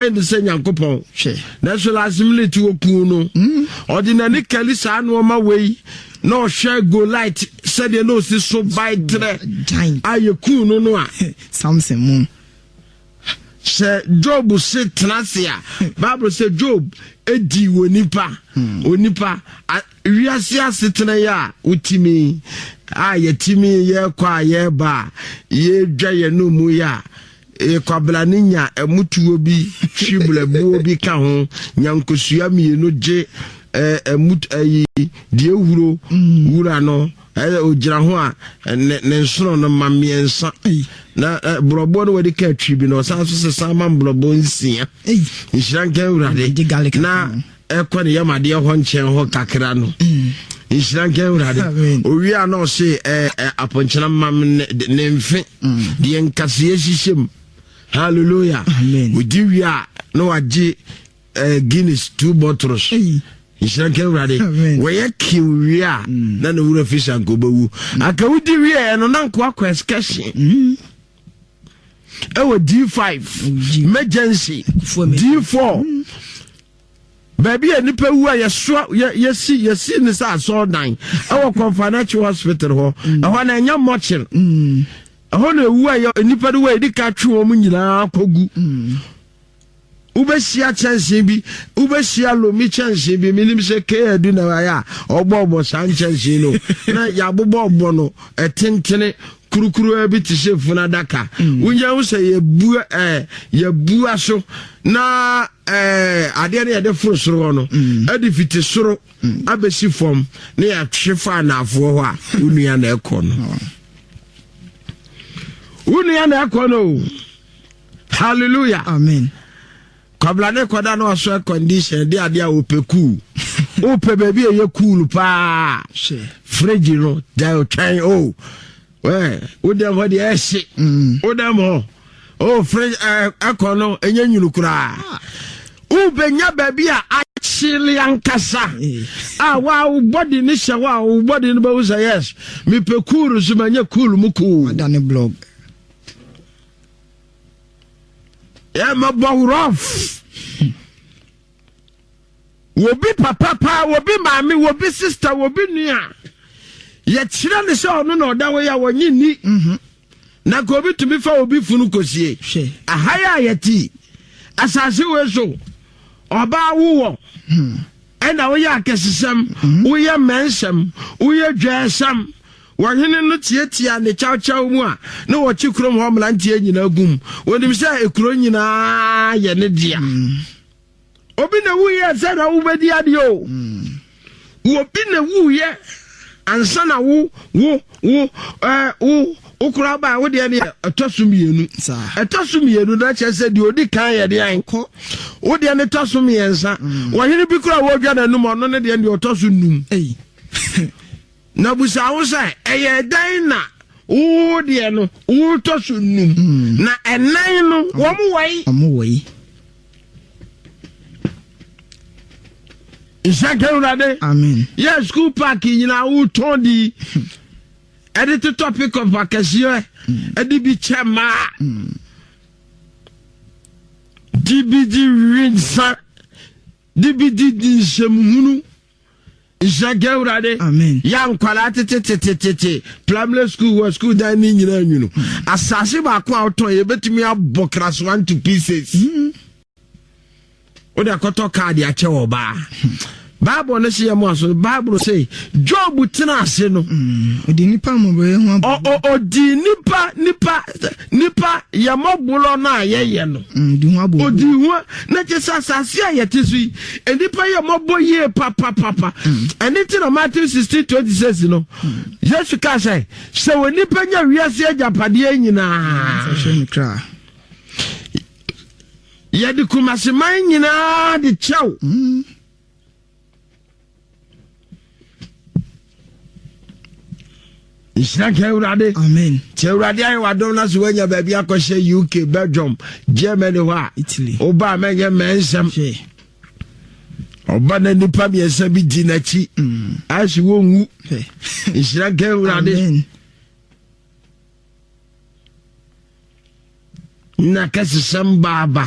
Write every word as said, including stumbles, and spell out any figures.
Ne sɛ Nyankopɔn, nanso last minute wɔkuu no. Mm. Ɔde n'ani kali saa nneɛma wei na ɔhwɛ Goliath sɛdeɛ na ɔsi so bae trɛ a yɛkuu no no a. Samson mu. Sɛ Job se tena ase a, Bible sɛ Job di wɔ nipa hmm. onipa wiase asetena yi a wotumi a yɛtumi yɛkɔ a yɛba a yɛdwa yɛn no mu yi a, kwabena ne nya ɛmutuo bi hwi bulɛbuo bi ka ho, nya nkosua mmienu gye ɛmu ɛyi deɛ ehuro mm. wura no ɛyɛ ogyina ho a ne ne nsono no ma mmiɛnsa na borɔboɔ no wɔde ka atwi bi na ɔsan so sesa ma mborɔboɔ nsia. Nhyira nka Awurade. Na ɛkɔ ne yam adeɛ hɔ nkyɛn hɔ kakra no mm. Nhyira nka Awurade. Owie a na ɔse apɔnkyena mam ne mfe mm. deɛ nkaseɛ hyehyɛ mu. Hallelujah. Ɔdi wie a na wagye Guinness two bottles. Nhyira nka Awurade. Wɔyɛ kiw wie a mm. na ne wura fi sa nka wobɛwu. Aka wodi wieɛ no na nkoa kɔ excursion ɛwɔ D five emergency, D four, baabi a nipa wu a yɛsoa yɛsi yɛsi ne sɛ asɔɔdan ɛwɔ Komfo Anokye Hospital hɔ. Ɛhɔ na ɛnyɛ mɔkyere ɛhɔ na ewu a yɛ nipa no wɔ yɛde ka twe wɔn nyinaa kɔgu. Wobɛhyia kyɛnsee bi, wobɛhyia lomi kyɛnsee bi, menim sɛ kadu na ayɛ a ɔbɔɔbɔ saa nkyɛnsee no na yɛabobɔɔbɔ no ɛtentene kurukuruwa bi te sɛ funu adaka. mm. Wonya ho sɛ yɛbua ɛɛ yɛbua so na ɛɛ adeɛ no yɛde foro soro hɔ no mm. ɛde fiti soro mm. abɛsi fam na yɛatwe fa anaafoɔ hɔ a, wo nua na ɛkɔ no, wo nua na ɛkɔ no o. Hallelujah. Amen. Kwabla ne kɔda na ɔsɔ air condition de adeɛ a wopɛ cool, wopɛ baabi a ɛyɛ cool paa, fridge no da twɛn o. Wo dɛm hɔ deɛ ɛhye mm. Wo dɛm hɔ o, fridge ɛkɔ no ɛnyɛ nwunu koraa. Wobɛnya baabi a akyele ankasa a wa wo body ne hyɛ hɔ a, wo body no bɛhu sɛ yes, mepɛ cool so manyɛ cool mu cool. Wadane blog. Yɛmɛbɔ rough. Wobi papa paa, wobi maame, wobi sister, wobi nua, yɛkyerɛ ne sɛ ɔno na ɔda hɔ yi a wɔnye nni mhm. Na ka obi tumi fa obi funu kɔsie aha yi a yɛte asase wei so, ɔbaa wowɔ hmm. ɛna woyɛ akɛsesɛm mhm. Woyɛ mmɛnsɛm, woyɛ dwɛɛsɛm. Wɔhene no tiatia ne kyawkyaw mu a na wɔkye kurom hɔ mmeranteɛ nyinaa gum. Wɔnim sɛ ekuro nyinaa yɛ ne dea. Mm. Obi na wuyɛ sɛ na wobɛdi adeɛ o. Mm. Obi na wuyɛ ansa na wo wo wo ɛɛ wo wo koraa baa wo deɛ ne ɛtɔ so mmienu. Ɛtɔ so mmienu na kyerɛ sɛ deɛ odi kan yɛ deɛ kɔ. Wo deɛ ne tɔ so mmiɛnsa. Mm. Wɔhene bi koraa wɔdwa n'anum, ɔno ne deɛ deɛ ɔtɔ so num. Na busa wo sɛ, ɛyɛ dɛn na wo deɛ no wotɔ so num mm. na ɛnan no wɔn wɔ yi? Wɔn wɔ yi. Nhyɛ Awurade. Amen. Yɛ school park nyinaa wotɔn di ɛde totɔ pick-up akɛseɛ, ɛde bi kyɛ mmaa di bi di wi nsa di bi di di nsɛmhunu. Nhyɛ Awurade. Amen. Yɛ nkwadaa tetetetetete primary school wɔ school dan ne nyinaa nwunu. Asase baako a wotɔn yɛbɛtumi abɔ class one to pieces. Mm. Wode akɔtɔ kaade akyɛ wɔ baa. Bible no se yɛ mo aso. Bible se Job tena ase no. Ɔdi nipa mmɔborɔ ho abɔ. Ɔdi nipa nipa nipa yɛ mmɔborɔ no a yɛyɛ no. Ɔdi ho abɔ. Ɔdi ho na kyɛ sɛ asase a yɛte so yi, nipa yɛ mmɔbɔ yie papapapa. Ɛne ti na Matthew sixteen twenty six no. Yesu kaa sɛ sɛ onipa nya wiase agyapadeɛ nyinaa, yɛde Kumaseman nyinaa de kyɛw. Mm. Nhyira nka Awurade. Amen. Nti Awurade ayɛ wadom no so woanya baabi akɔhyɛ U K, Belgium, Germany hɔ a, Italy. Woba a mɛnyɛ mmɛnsɛm. Ɔba na nnipa mmiɛnsa bi di n'akyi mm. Ayɛ wɔnwu. Nhyira nka Awurade. Amen. Na kɛsesɛm baaba.